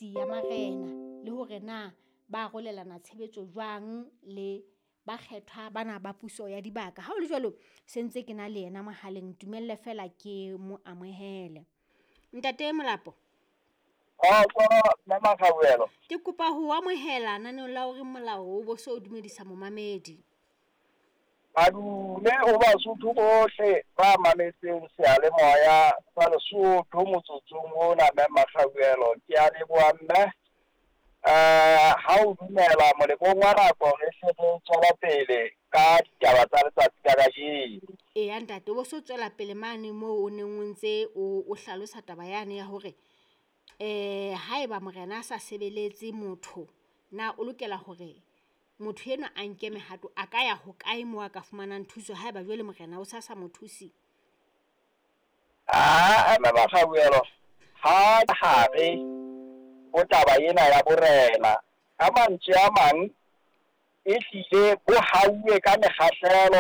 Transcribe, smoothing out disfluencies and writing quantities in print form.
Mesebetsi ya marena le hore na ba arolelana tshebetso jwang le bakgethwa bana ba puso ya dibaka. Ha ho le jwalo, se ntse ke na le yena mohaleng, ntumelle feela ke mo amohele. Ntate Molapo. Kgotso Mme Makgabuelo. Ke kopa ho amohela naneong la O Reng Molao o bo so dumedisa momamedi. Madume ho Basotho bohle ba mametseng seyalemoya sa Lesotho motsotsong ona Mme Makgabuelo. Ke a leboha mme ha o dumela molemong wa nako re hle re tswela pele ka ditaba tsa letsatsi la kajeno. Eya ntate, o bo so tswela pele mane moo o neng o ntse o hlalosa taba yane ya hore haeba morena a sa sebeletse motho, na o lokela hore motho enwa a nke mehato a ka ya hokae moo a ka fumanang thuso haeba jwale morena o sa sa mo thuse? Aa Mme Makgabuelo, ha hare ho taba ena ya borena, ka mantswe a mang e hlile bo hauwe ka mekgahlelo.